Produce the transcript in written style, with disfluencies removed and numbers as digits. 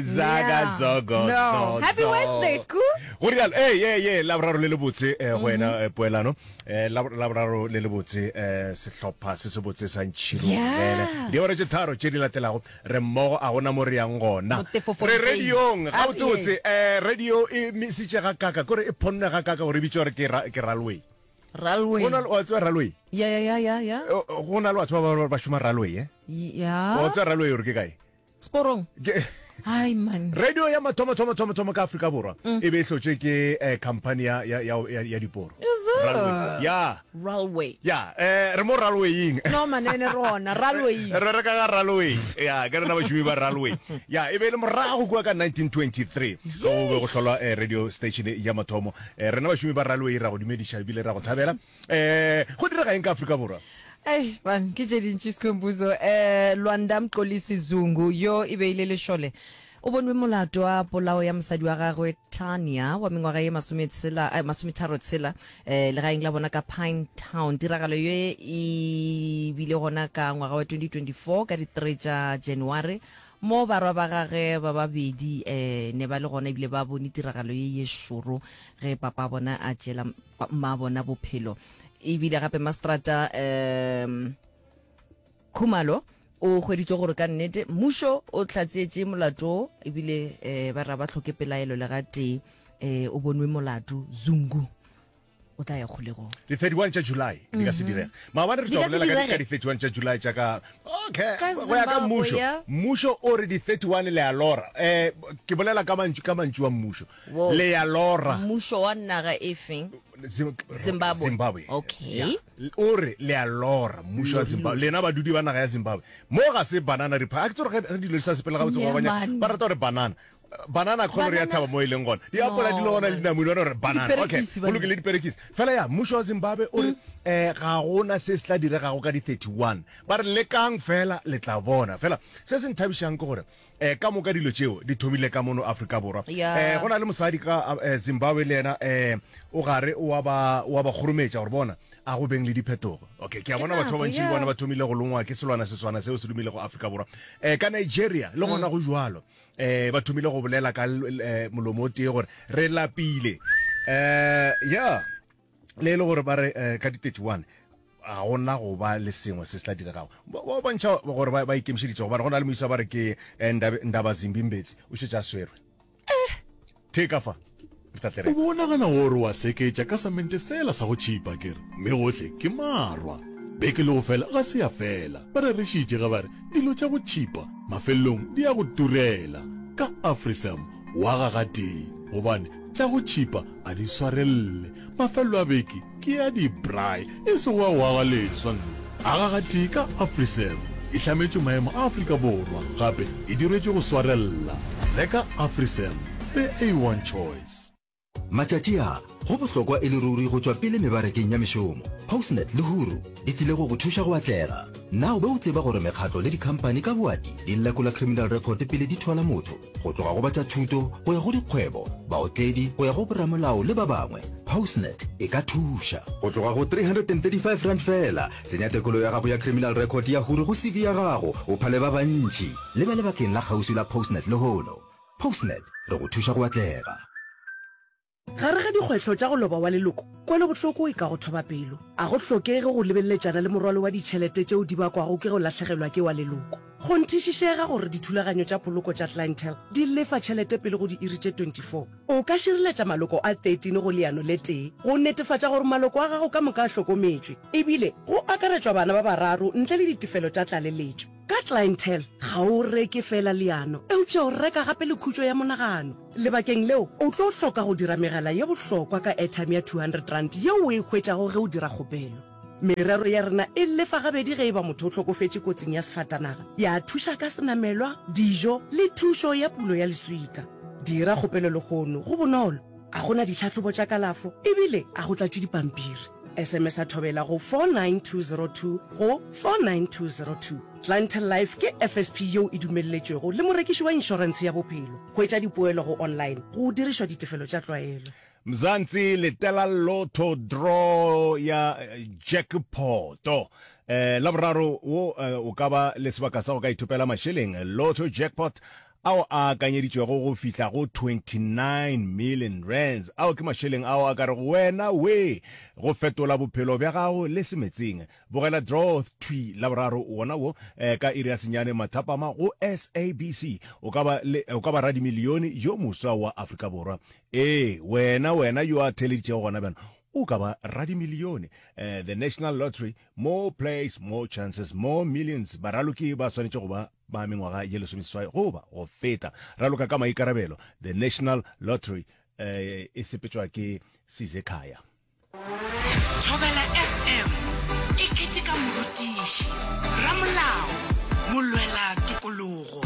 Zaga zogo No. zo Happy zo. Wednesday, school. Go rialo, ee ye ye laboraro le lebotse eh, go wena eh, poelano eh, lab- laboraro le lebotse eh, sehlopha se sebotse sa ntšhirogele Yes. diora tše tharo tše di latelago re mmogo a gona mo re yang gona Motefo re radiong A- gabotsebotse eh, radio e misitše ga kaka kore e phonne ga kaka gore e bitšwa gore ke ra- ke railway Railway. go na le wa tseba railway Ya ya ya ya ya. Eh, go na le batho ba ba ba šoma railway eh Ya. wa tseba railway gore ke kae Sporong. Ke- Ai man. radio ya mathomo thomo thomo thomo ka Afrika Borwa e be e hlotšwe ke eh, company ya ya ya ya, ya diporo Is it? Railway. ya Railway. ya eh re mo railwaying No man ene rona railway. re reka ka railway ya ke rena bašomi ba railway ya e be e le morago kua ka 1923 go be go hlolwa eh, radio station ya mathomo eh, rena bašomi ba railway ra go dumediša ebile ra go thabela Eh, go direga eng ka Afrika Borwa? Ei, man, ke tše dintši Skhumbuzo. Eh, Lwanda Mxolisi Zungu, yo e be e le lešole, o bonwe molato wa polao ya mosadi wa gagwe Tanya wa mengwaga ye masometshela, eh, masometharotshela, eh, legaeng la bona ka Pine Town. Tiragalo ye e bile gona ka ngwaga wa 2024 ka di 3 tša January, mo barwa ba gage ba babedi eh, ne ba le gona ebile ba bone tiragalo ye ye šoro ge papa bona a tšeela mmabona bophelo ebile gape mastrata um Khumalo o hweditše gore ka nnete mmušo o hlatseetše molato ebile um ba ra ba hloke pelaelo le gatee um o bonwe molato Zungu o tla ya kgolegong. Di 31 tša July di ka se direge. Maabane re Di tšwa ka se bolela ka di- ka direge. di 31 tša July tša ka okay Ka go ya ka Zimbabwe, mmušo. ya. Mmušo o re di 31 le a lora. Eh ke bolela ka mantšu ka mantšu a mmušo. Wo. Le ya lora. Mmušo wa naga e feng? Zim- Zimbabwe. Zimbabwe. Okay. Ya. O re le a lora mmušo wa Zimbabwe. Lena badudi ba naga ya Zimbabwe. Mo ga se banana republic. A ke tsore ge dilo di sa sepele gabotse Yeah, go banya man. ba rata gore banana. Banana kgone re ya Banana. thaba mo e leng gona. Diapola di le No, gona man. le dinamune ba re banana. Okay. Diperekisi, Go banna. lokile diperekisi. Fela ya mmušo wa Zimbabwe o re eh ga gona se se tla diregago ka di 31. Ba re lekang fela le tla bona. Fela se se nthabišang ke gore Eh, ka moka dilo tšeo di thomile ka mono Afrika Borwa. Ya. Eh, go na le mosadi ka eh, Zimbabwe le yena eh, o gare o a ba o a ba kgorometša gore bona a go beng le diphetogo. Okay, ke a Ke bona batho ba nako, bantši le ya. bona ba thomile go longwa ke selwana seswana seo se dumilego Afrika Borwa. Eh, ka Nigeria le gona go jwalo. Eh, ba thomile go bolela ka eh, molomo o tee gore re lapile. Eh, ya. Le e le gore ba re eh, ka di 31 ga gona go ba le sengwe se se tla diregago. Ba ba bontšha gore ba ba ikemišeditše gobane go na le moisa ba re ke eh, Ndabe- Ndaba Zimbi Mbetsi o šetše a swerwe. Theka fa re tla tle re O be o nagana gore wa seketša ka samente sela sa go tšhipa akere? Mme gohle ke marwa. Beke le go fela ga se ya fela. Ba rerešitše ge ba re dilo tša go tšhipa mafelelong di a go turela. Ka Afrisam wa ga gatee gobane tša go tšhipa a di swarelele. Mafelelo a beke ke a di-braai e sego a go aga leswa. Aga gatee ka Afrisam e hlametšwe maemo a Afrika Borwa gape e diretšwe go swarella. Reka Afrisam, the A1 choice. Matšatši a, go bohlokwa e le ruri go tšwa pele mebarakeng ya mešomo. Postnet le Huru di tlile go go thuša go atlega. Na o be o tseba gore mekgatlo le dikhamphani ka boati di lekola criminal record pele di thwala motho? Go tloga go ba tša thuto go ya go dikgwebo, baotledi go ya go boramolao le ba bangwe, Postnet e ka thuša. Go tloga go R335 feela, tsenya tekolo ya gago ya criminal record ya Huru go CV ya gago o phale ba bantši. Leba lebakeng la kgauswi la Postnet lehono. Postnet, re go thuša go atlega. Gare ga dikgwetlho tša go loba wa leloko, kwelobohloko e ka go thoba pelo. A go hlokege go lebeleletšana le morwalo wa ditšhelete tšeo di bakwago ke go lahlegelwa ke wa leloko. Kgonthišišega gore dithulaganyo tša poloko tša Clientele di lefa tšhelete pele go diiri tše 24. O ka šireletša maloko a 13 go leano le tee go netefatša gore maloko a gago ka moka a hlokometšwe, ebile go akaretšwa bana ba bararo ntle le ditefelo tša tlaleletšo. Ka Clientele, ga o reke feela leano, eupša o reka gape le khutšo ya monagano. Lebakeng leo, o tlo hloka go dira megala ye bohlokwa ka airtime ya R200 yeo o e hwetšago ge o dira kgopelo. Merero ya rena e lefa gabedi ge e ba motho o hlokofetše kotsing ya sefatanaga, ya thuša ka senamelwa, dijo le thušo ya pulo ya leswika. Dira kgopelo lehono, go bonolo, ga go na ditlhahlobo tša kalafo ebile ga go tlatšwe dipampiri. SMS-a Thobela go 49202 go 49202. Clientele Life ke FSP yeo e dumelletšwego le morekiši wa inšorentshe ya bophelo. Hwetša dipoelo go online go dirišwa ditefelo tša tlwaelo. Mzansi letela lotto draw ya jackpot. Eh, Laboraro wo eh, o ka ba le sebaka sa go ka ithopela mašeleng. Lotto jackpot. ao a akanyeditšwego go fihla go 29 million rands. Ao ke mašeleng ao a ka rego wena wee go fetola bophelo bja gago le semetseng. Bogela Draw thwi Laboraro wona wo ka iri ya senyane mathapama go SABC. O ka ba le, o ka ba radimilione yo moswa wa Afrika Borwa. Ee, wena, wena yo a theeleditšego gona bjalo, o ka ba radimilione. The National Lottery, more plays, more chances, more millions. Baraloki ba swanetše go ba ba mengwaga ye lesomeseswai goba go feta. Raloka ka maikarabelo. The National Lottery e sepetšwa ke Sizekhaya. Thobela FM e keteka morutiši, ramolao, molwela tokologo.